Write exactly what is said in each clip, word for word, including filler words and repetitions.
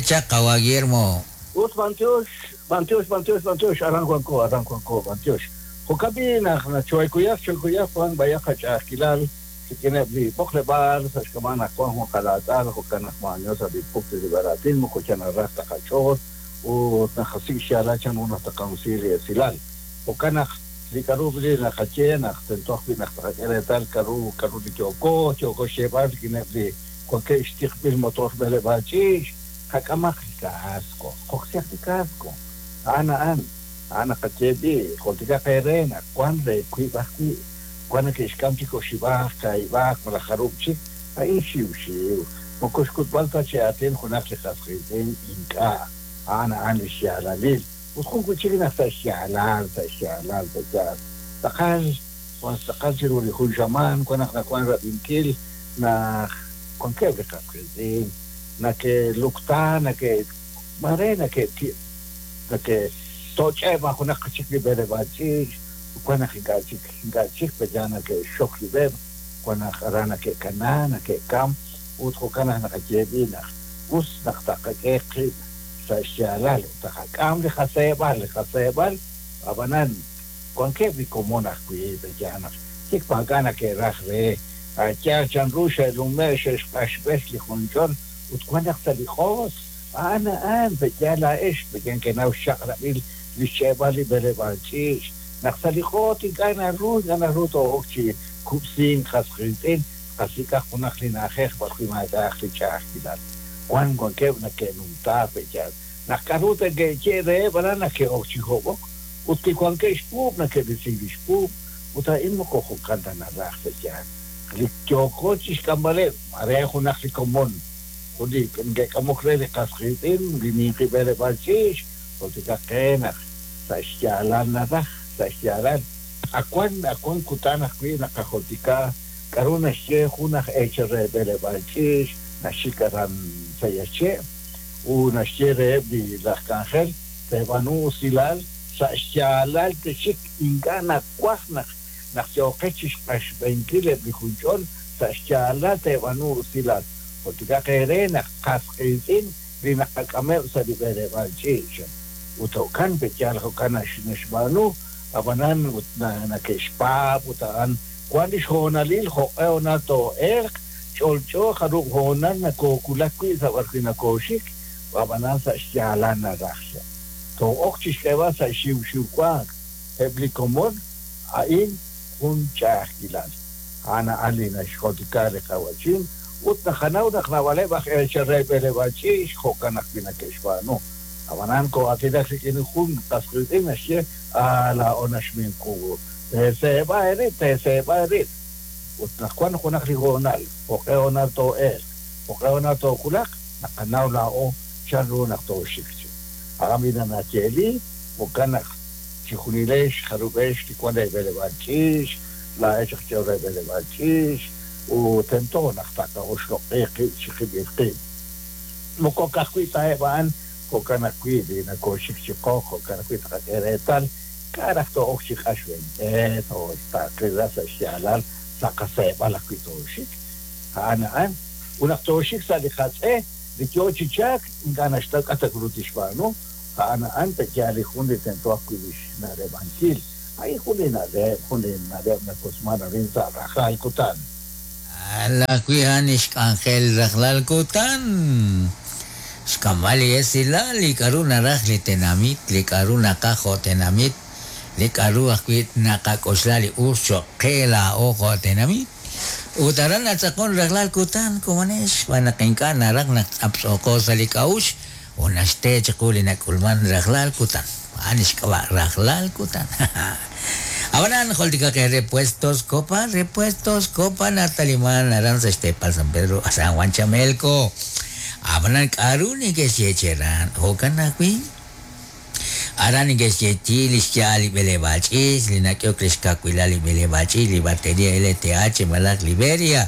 chaq qawa Guillermo. Ut bantiox, bantiox, bantiox, bantiox, aran wanko, aran wanko, bantiox. Jo'kan naq nachoykuyaq, choykuyaq wan bayaq qach'a'ajkilal rik'ineb' li b'oqleb'aal sa' xk'ab'a' naq wan jun qalaatz'al jo'kan naq ma'anyo sa' li pukt li b'araatin moko chanaraj ta qach'ool ut naqasik' xyaalal chan ru naq taqansi li esilal. Jo'kan naq li k'a'ru li naqaye naq tento ajwi' naq taqak'e reetal k'a'ru k'a'ru li yooko, yooko xyeeb'al rik'ineb' li wankeb' xtiqb'il motor b'eleb'aal ch'iich', qak'amaq li casco, qoksihaq li casco. A'an a'an, a'an naqaye b'i, jultikaq eere naq wan re wiib' ajwi', wan neke'xk'am chik oxib'aj, kaahib'aj, malaj jarub' chik, a'in xiwxiw. Moko xk'utb'al ta chi aatin junaq li qas qiitz'in ink'a', a'an a'an li xyaalalil. Ut jun wi' chik naq sa' xyaalal, sa' xyaalal, sa' xyaalal. Tz'aqal, wan tz'aqal chiru li jun xamaan, wan naq nawan rab'inkil naq wankeb' li qas qiitz'in, nake'lukta, nake' mare nake'ti' nake'toch'eb' junaq chik li b'eleb'aal ch'iich', wan naq ink'a' chik, ink'a' chik peya nake'xok rib'eb', wan naq aran nake'kana, nake'kam, ut jo'kan naq naqaye b'i naq us naq taqak'e qib' sa' xyaalal, ut taqak'am li qaseeb'al, li qaseeb'al, ab'anan wankeb' li komon ajwi' peya naq chik maak'a' nake'raj re yaal chanru xe'lume' xe'xq'axb'es li junch'ol, ut wan naq sa' li q'os, a'an a'an peya laa'ex, peya nkenaw xchaq'rab'il li xch'eeb'al li b'eleb'aal ch'iich', naq sa' li q'oot ink'a' naru, ink'a' naru too'ok chi kub'sink qas qiitz'in, qasik'aq junaq li na'ajej b'arwi' maak'a'aq li ch'a'ajkilal. Wan wankeb' nake'numta peya naq k'a'ru te'ke'ye reheb' aran nake'ok chi hob'ok, ut li wankeb' xpuub' nake'risink li xpuub', ut a'in moko jo'kan ta naraj peya. Li yooko chi xk'amb'aleb', mare junaq li komon, jun li nke'k'amok re li qas qiitz'in, li ninqi b'eleb'aal ch'iich', jultikaq qe naq sa' xyaalal naraj, sa' xyaalal. Awan, awan kutan ajwi' naqajultika k'a'ru naxye jun aj eechal re b'eleb'aal ch'iich', naxik aran sa' yache', u naxye reheb' li laj k'anjel, teeb'anu usilal sa' xyaalal texik ink'a' nawaj naq naq yooqex chi xq'axb'enkil eb' li junch'ol sa' xyaalal teeb'anu usilal. Jultikaq eere naq qas qiitz'in li naqak'ameb' sa' li b'eleb'aal ch'iich'. Ut jo'kan peyaal jo'kan naxb'aanu, ab'anan ut nake'xpaab' ut a'an wan li xhoonalil jo'q'e honal too'elq, ch'olch'o jarub' hoonal nakookulak wi' sa' b'arwi' nakooxik, ab'anan sa' xyaalal naraj. Too'ok chi xk'eeb'al sa' xiwxiw wank eb' li komon a'in jun ch'a'ajkilal. A'an a'an li naxjultika li qawachin, ut naqanaw naq naab'aleb' aj eechal re b'eleb'aal ch'iich' jo'kan ajwi' nake'xb'aanu. Ab'anan koo'aatinak rik'in jun qas qiitz'in naxye laa'o naxminqu, teeseeb'a eerib', teeseeb'a eerib'. Ut naq wan junaq li hoonal, jo'q'e hoonal too'elq, jo'q'e hoonal tookulaq, naqanaw laa'o chanru naq tooxik chi. A'an b'i nayeeli, jo'kan naq chijunilex jarub'ex li wan re b'eleb'aal ch'iich', laa'ex aj ch'ol re b'eleb'aal ch'iich', ut tento naq taqa'oxloq'i qib' chi qib'il qib'. Moko ka'ajwi' ta'eb' a'an, jo'kan ajwi' li nakooxik chi qoq, jo'kan ajwi' taqak'e reetal, k'a' raj too'ok chi q'axb'ente, taqila sa' xyaalal, sa' qaseeb'al ajwi' tooxik. A'an a'an, ut naq tooxik sa' li qatz'e, li yoo chi chaak, ink'a' naxtaw k'a' ta ru tixb'aanu, a'an a'an peya li jun li tento ajwi' li xna'leb'ankil. A'in jun li na'leb', jun li na'leb' nakosman arin sa' rajlal kutan. Alajwi' a'an xk'anjel rajlal kutan. Xk'amb'al li esilal, li k'a'ru naraj li tenamit, li k'a'ru naqaj jo' tenamit, li k'a'ru ajwi' naqak'oxla li us cho'q qe laa'o jo' tenamit. Ut aran natz'aqon rajlal kutan komonex, xb'aan naq ink'a' naraj naq tz'aptz'oqo sa' li k'a'uxl, ut naxte chiqu li nak'ulman rajlal kutan. A'an xk'ab'a' rajlal kutan. Ab'anan jultikaq repuestos Copa, repuestos Copa nataliman aran sa' xteepal San Pedro, San Juan Chamelco. Ab'anan k'a'ru neke'xye aran, jo'kan ajwi' aran neke'xyeechi li xya'al li b'eleb'aal ch'iich', li nak'ehok li xkawilal li b'eleb'aal ch'iich', li batería L T H malaj Liberia.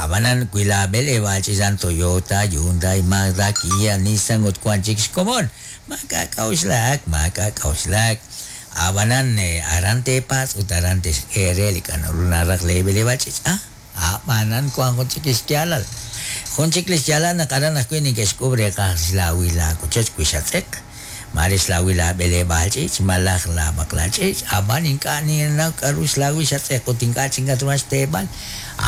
Ab'anan wi la b'eleb'aal ch'iich' a'an Toyota, Hyundai, Mazda, Kia, Nissan ut wan chik xkomon. Maak'a' k'a'uxlak, maak'a' k'a'uxlak. Ab'anan aran teepatz' ut aran texk'e re li k'a'ru naraj li b'eleb'aal ch'iich'. Ah, ab'anan wan jun chik xyaalal. Jun chik li xyaalal naq aran ajwi' neke'xk'uub' reeqaj xlaawil laawochoch wi xatz'eq, mare xlaawil laab'eleb'aal ch'iich' malaj laab'aqlal ch'iich', ab'an ink'a' ninnaw k'aru xlaawil xatz'eq ut ink'a' chik nakatruhan xteeb'al,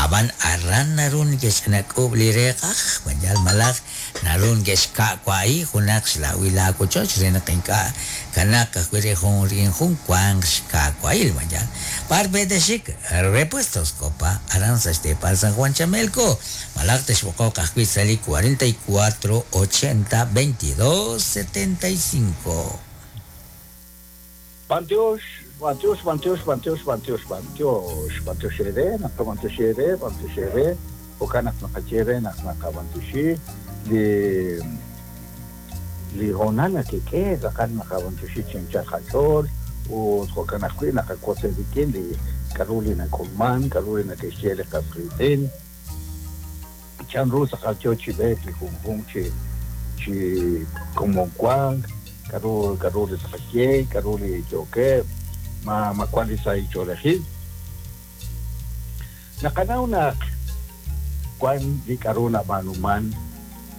ab'an aran naru neke'xch'inak'uub' li reeqaj, mayal malaj naru neke'xka'wa'i junaq xlaawil laawochoch re naq ink'a' kanaaq ajwi' re jun rik'in jun wanq xka'wa'il, mayal. B'ar pe'texik Repuestos Copa, aran sa' xteepal San Juan Chamelco, malaj texb'oqoq ajwi' sa' li cuarenta y cuatro ochenta veintidós setenta y cinco. B'antiox, b'antiox, b'antiox, b'antiox, b'antiox, b'antiox, b'antiox eere, naq b'antiox eere, b'antiox eere, jo'kan naq naqaye re naq naqab'antioxi li li hoonal nakek'e, tz'aqal naqab'antioxi chi anchal qach'ool, ut jo'kan ajwi' naqawotz rik'in li k'aru li nak'ulman, k'aru li nake'xye li qas qiitz'in, chanru tz'aqal yo chi b'eek li junjunq chi chi komon wank, k'aru k'aru li tz'aqal k'aru li yookeb', ma ma wan li sahil ch'oolejil. Naqanaw naq wan li k'aru nab'aanuman,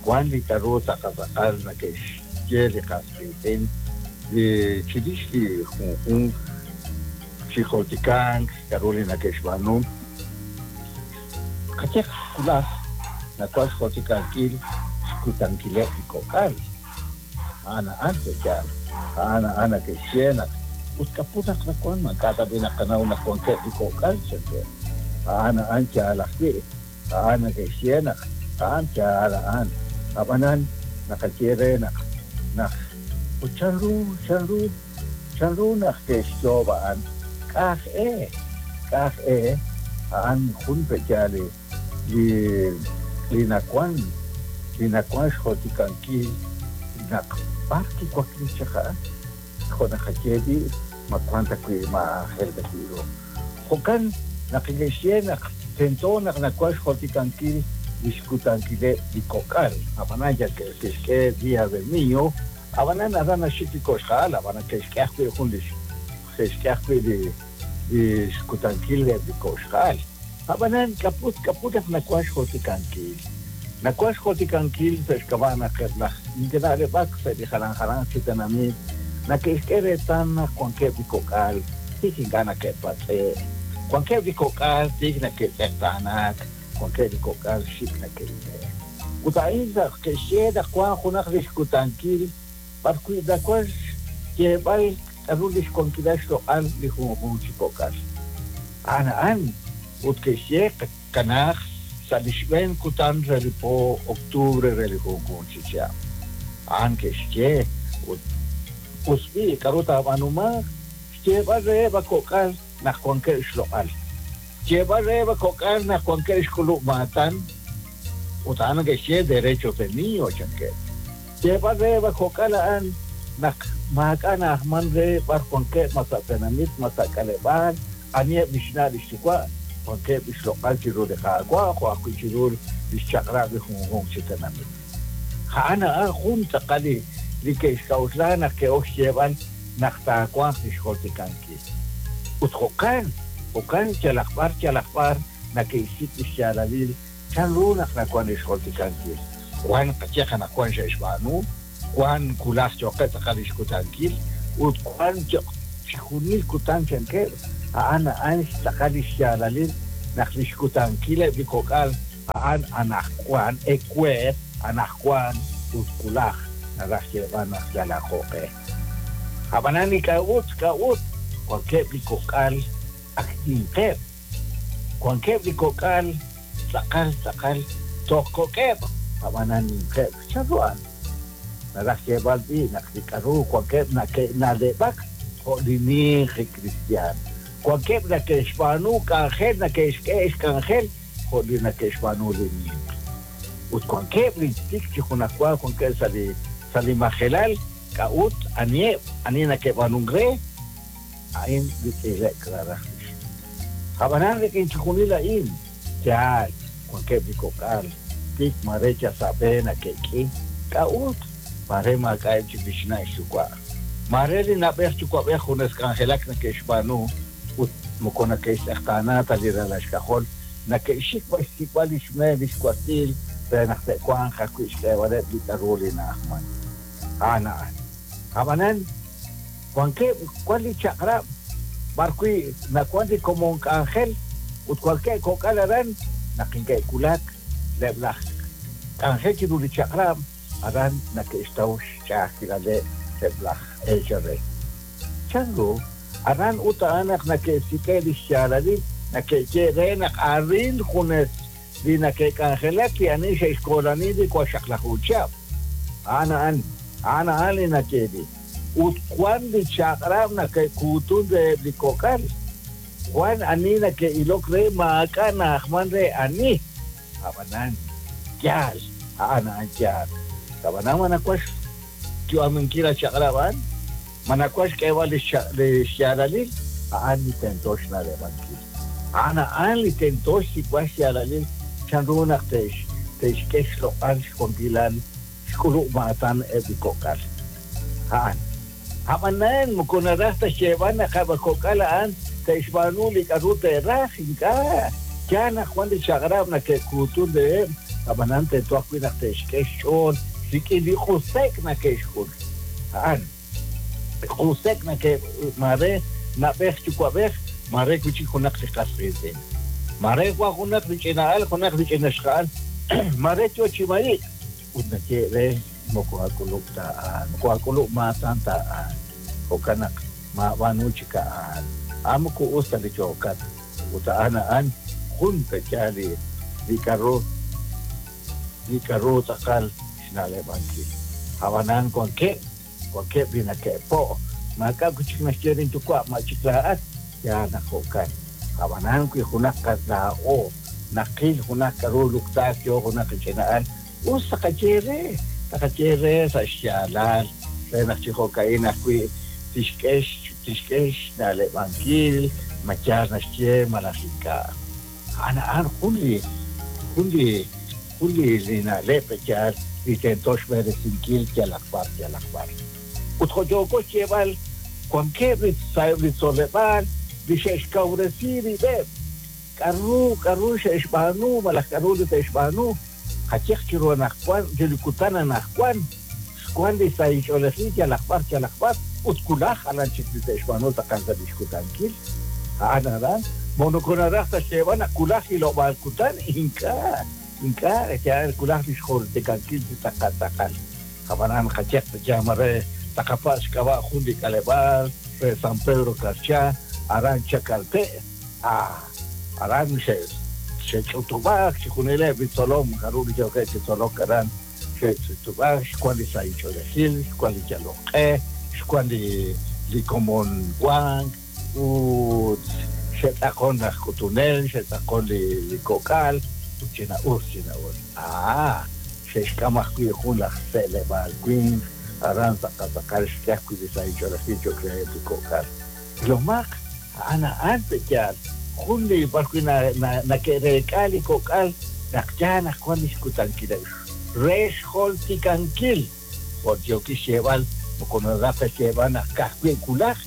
wan li k'aru tz'aqal tz'aqal nake'xye li qas qiitz'in, li chirix li junjunq chi joltikank, k'aru li nake'xb'aanu. Qayeq wulaj nawan xjoltikankil xkutankileb' li kok'al. A'an a'an pe'yaal, a'an a'an nake'xye naq ut k'apu naq nawan, ma ink'a' tab'i naqanaw naq wankeb' li kok'al, chankeb'. A'an a'an yaal ajwi', a'an nake'xye naq a'an yaal a'an. Ab'anan naqaye re naq naq ut chanru chanru chanru naq ke'xyoob' a'an k'aj e, k'aj e, a'an jun pe'yaal li li li nawan li nawan xjoltikankil naq b'ar kiwakli chaq a'an, jo' naqaye b'i' ma wan ta wi' ma aajel ta wi' ru. Jo'kan naq ke'xye naq tento naq nawan xjoltikankil li xkutankileb' li kok'al, ab'anan yal ke'xk'e Día del Niño, ab'anan aran naxik li koxja'al, ab'anan ke'xk'e ajwi' jun li ke'xk'e ajwi' li li xkutankil eb' li koxja'al. Ab'anan k'aput k'aput naq nawan xjoltikankil. Nawan xjoltikankil sa' xk'ab'a' naq eb' laj neke'na'leb'ak sa' li jalan jalan chi tenamit, nake'xk'e reetal naq wankeb' li kok'al tik ink'a' nake'patz'e', wankeb' li kok'al tik nake'tz'eqtaanak, wankeb' li kok'al xik nake'ile'. Ut a'in naq ke'xye naq wan junaq li xkutankil b'ar wi' nawan xyeeb'al k'aru li xwankilal xloq'al li junjunq chi kok'al. A'an a'an ut ke'xye kanaaq sa' li xb'een kutan re li po octubre re li junjunq chi chihab'. A'an ke'xye ut us b'i' k'aru taab'aanumanq, xyeeb'al reheb' a kok'al naq wankeb' xloq'al. Xyeeb'al reheb' a kok'al naq wankeb' xk'ulub' maatan, ut a'an ke'xye derechos del niño chankeb'. Xyeeb'al reheb' a kok'al a'an naq maak'a' na'ajman re b'ar wankeb' ma sa' tenamit, ma sa' k'aleb'aal, aniheb' li xna' li xyuwa', wankeb' li xloq'al chiru li Qaawa' jo' ajwi' chiru li xchaq'rab' li junjunq chi tenamit. A'an a'an jun tz'aqal li li ke'xk'a'uxla naq ke'ok xyeeb'al naq taawanq li xjoltikankil. Ut jo'kan, jo'kan yalaq b'ar yalaq b'ar nake'xsik' li xyaalalil chanru naq nawan li xjoltikankil. Wan qayeq anaqwan xe'xb'aanu, wan wulaj yo'qeb' tz'aqal li xkutankil, ut wan chijunil kutan chankeb', a'an a'an xtz'aqal li xyaalalil naq li xkutankileb' li kok'al a'an anaqwan ewer, anaqwan ut wulaj naraj xyeeb'al naq yalaq jo'q'e. Ab'anan li k'a'ut k'a'ut wankeb' li kok'al ak ninqeb', wankeb' li kok'al tz'aqal tz'aqal toj kok'eb', ab'anan ninqeb'. Chanru a'an? Naraj xyeeb'al b'i' naq li k'aru wankeb' nake'na'leb'ak jo' li ninqi cristian. Wankeb' nake'xb'aanu k'anjel, nake'xk'e xk'anjel jo' li nake'xb'aanu li ninq. Ut wankeb' li tik chi junajwa wankeb' sa' li sa' li majelal, k'a'ut aniheb' ani nake'b'aanunk re, a'in li tz'ile'k raraj lix. Ab'anan rik'in chijunil a'in, yaal, wankeb' li kok'al, tik mare yal sa' b'e nake'k'i, k'a'ut mare maak'a'eb' chik li xna' xyuwa'. Mare li na'b'ej yuwa'b'ej junes k'anjelak nake'xb'aanu ut moko nake'xtz'eqtaana ta li ralal xk'ajol, nake'xik b'ar xsik'b'al li xmeel li xwatziil re naq te'wanq ajwi' xk'eeb'aleb' li k'aru li na'ajman. A'an a'an. Ab'anan wankeb' wan li chaq'rab' b'ar wi' nawan li komon k'anjel ut wankeb' kok'al aran naq inke'wulak leb' laj k'anjel chiru li chaq'rab' aran nake'xtaw xch'a'ajkilaleb' eb' laj eechal re. Chanru aran ut a'an naq nake'sik'e li xyaalalil nake'ye re naq arin junes li nake'k'anjelak li ani xe'xkoolani li waxaqlaju chihab'. A'an a'an a'an a'an li nake'li. Ut wan li chaq'rab' nake'kuutun reheb' li kok'al. Wan ani nake'ilok re maak'a' na'ajman re ani. Ab'anan yaal a'an a'an yaal. Ab'anan ma nawan xyu'aminkil a chaq'rab' a'an ma nawan xk'eeb'al li xyaalalil a'an li tento xna'leb'ankil. A'an a'an li tento xsik'b'al xyaalalil chanru naq te'x te'xk'e xloq'al xwankilal xk'ulub' maatan eb' li kok'al. A'an. Ab'anan moko naraj ta xyeeb'al naq eb' kok'al a'an te'xb'aanu li k'aru te'raj ink'a'. Yaal naq wan li chaq'rab' nake'kuutun reheb' ab'anan tento ajwi' naq te'xk'e xch'ool rik'in li q'usek nake'xk'ul. A'an. Q'usek nake' mare nab'ej yuwa'b'ej mare wi' chik junaq li qas qiitz'in. Mare wan junaq li ch'ina'al junaq li ch'inaxqa'al mare yo chi marik ut naye re moko ak'ulub' ta a'an moko ak'ulub' maatan ta a'an. Jo'kan naq maab'aanu chik a'an. A'an moko us ta li yookat. Ut a'an a'an jun pe'yaal li li k'aru li k'aru tz'aqal xna'leb'ankil. Ab'anan wankeb' wankeb' li nake'po' maak'a' wi' chik naxye linyuwa' ma chik laa'at yaal naq jo'kan. Ab'anan wi junaq laa'o naqil junaq k'aru luktaak yo junaq li ch'ina'al us taqaye re taqaye re sa' xyaalal re naq chi jo'ka'in ajwi' tixk'e tixk'e xna'leb'ankil ma yaal naxye malaj ink'a'. A'an a'an jun li jun li jun li li na'leb' yaal li tento xb'eresinkil yalaq b'ar yalaq b'ar. Ut jo' yooko xyeeb'al wankeb' li sa'eb' li tzoleb'aal li xe'xkawresi rib'eb' k'aru k'aru xe'xb'aanu malaj k'aru li te'xb'aanu qayeq chiru anaqwan chiru kutan anaqwan xwan li sahil ch'oolejil yalaq b'ar yalaq b'ar ut kulaj jalan chik li te'xb'aanu tz'aqal sa' li xkutankil. A'an aran moko naraj ta xyeeb'al naq kulaj hilob'aal kutan ink'a' ink'a' yaal kulaj li xjoltikankil chi tz'aqal tz'aqal. Ab'anan qayeq taqama re taqapatz' xk'ab'a' jun li k'aleb'aal re San Pedro Carchá aran Chacalte' ah aran xe' xe'ch'utub'aak chi junileb' li tzolom k'aru li yookeb' chi tzolok aran xe'ch'utub'aak xwan li sahil ch'oolejil xwan li yalok q'e xwan li li komon wank ut xe'tz'aqon laj k'utunel xe'tz'aqon li li kok'al ut china'us china'us. Ah xe'xk'am ajwi' jun laj se'leb'aal winq aran tz'aqal tz'aqal xk'e ajwi' li sahil ch'oolejil cho'q reheb' li kok'al. Ilomaq a'an a'an pe'yaal jun li b'ar wi' nake'reek'a li kok'al naq yaal naq wan li xkutankileb' re xjoltikankil. Jo' yookil xyeeb'al moko naraj ta xyeeb'al naq ka'ajwi' kulaj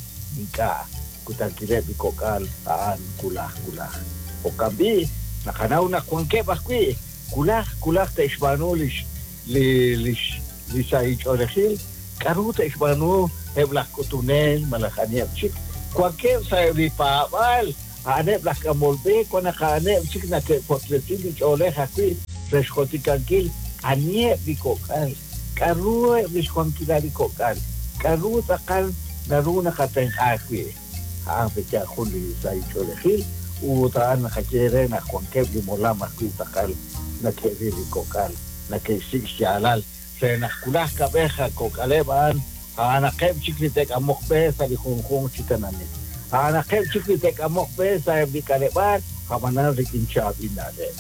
ink'a' kutankileb' li kok'al a'an kulaj kulaj. Jo'kan b'i' naqanaw naq wankeb' ajwi' kulaj kulaj te'xb'aanu li li li li sahil ch'oolejil k'aru te'xb'aanu eb' laj k'utunel malaj aniheb' chik wankeb' sa'eb' li paab'aal a'aneb' laj k'amol b'e wan naq a'aneb' chik nake'waklesin li ch'oolej ajwi' re xjoltikankil aniheb' li kok'al k'aru eb' li xwankilal li kok'al k'aru tz'aqal naru naqatenq'a ajwi'. A'an pe'yaal jun li sahil ch'oolejil ut a'an naqaye re naq wankeb' li molam ajwi' tz'aqal nake'ril li kok'al nake'xsik' xyaalal re naq kulaj kab'ej kok'aleb' a'an a'anaqeb' chik li te'k'amoq b'e sa' li junjunq chi tenamit. A'anaqeb' chik li te'k'amoq b'e sa'eb' li k'aleb'aal ab'anan rik'in chaab'il na'leb'.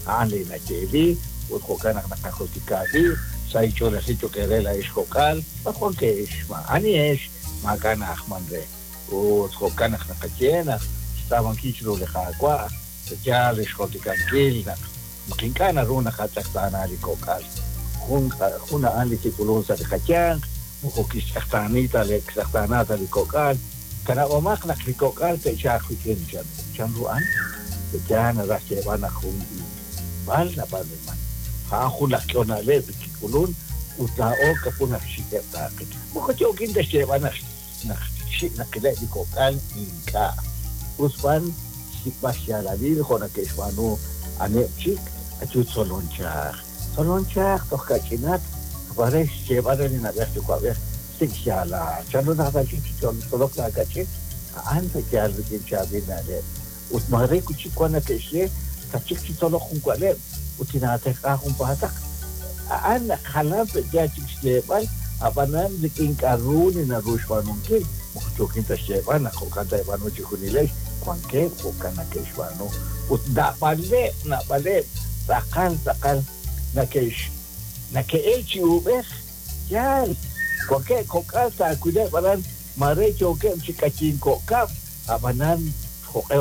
A'an li nayeeli ut jo'kan naq naqajultika b'i' sahil ch'oolejil cho'q eere laa'ex kok'al b'ar wankex ma anihex maak'a' na'ajman re. Ut jo'kan naq naqaye naq xtz'aamankil chiru li Qaawa' yaal li xjoltikankil naq naq ink'a' naru naqatz'eqtaana li kok'al. Jun jun a'an li kik'ulun sa' li qayanq moko kixtz'eqtaani ta li kixtz'eqtaana ta li kok'al. Kanab'omaq naq li kok'al te'chalq wik'in chan chanru a'an yaal naraj xyeeb'al naq jun b'al nab'aanuman. A'an jun laj k'ehol na'leb' kik'ulun ut laa'o k'apu naq xik'eb' taaqil. Moko yookin ta xyeeb'al naq naq xik' naqileb' li kok'al ink'a'. Us b'an xsik'b'al xyaalalil jo' nake'xb'aanu aneb' chik ayu tzolon chaj. Tzolon chaj toj kach'inat mare xyeeb'al re li na'b'ej yuwa'b'ej sik' xyaalal. Chanru naq tachik chi tzolok laakach'in a'an yaal rik'in chaab'il na'leb'. Ut mare wi' chik wan nake'xye tachik chi tzolok jun wa'leb' ut tinaatenq'a junpaataq. A'an naq jalan yaal chik xyeeb'al ab'anan rik'in k'a'ru li naru xb'aanunkil. Moko yookin ta xyeeb'al naq jo'kan taeb'aanu chi junilex wankeb' jo'kan nake'xb'aanu. Ut naab'aleb' naab'aleb' tz'aqal tz'aqal nake'x nake'el chi uub'ej yaal wankeb' kok'al taawileb' aran mare yookeb' chi k'ayin ko'kab' ab'anan jo'q'e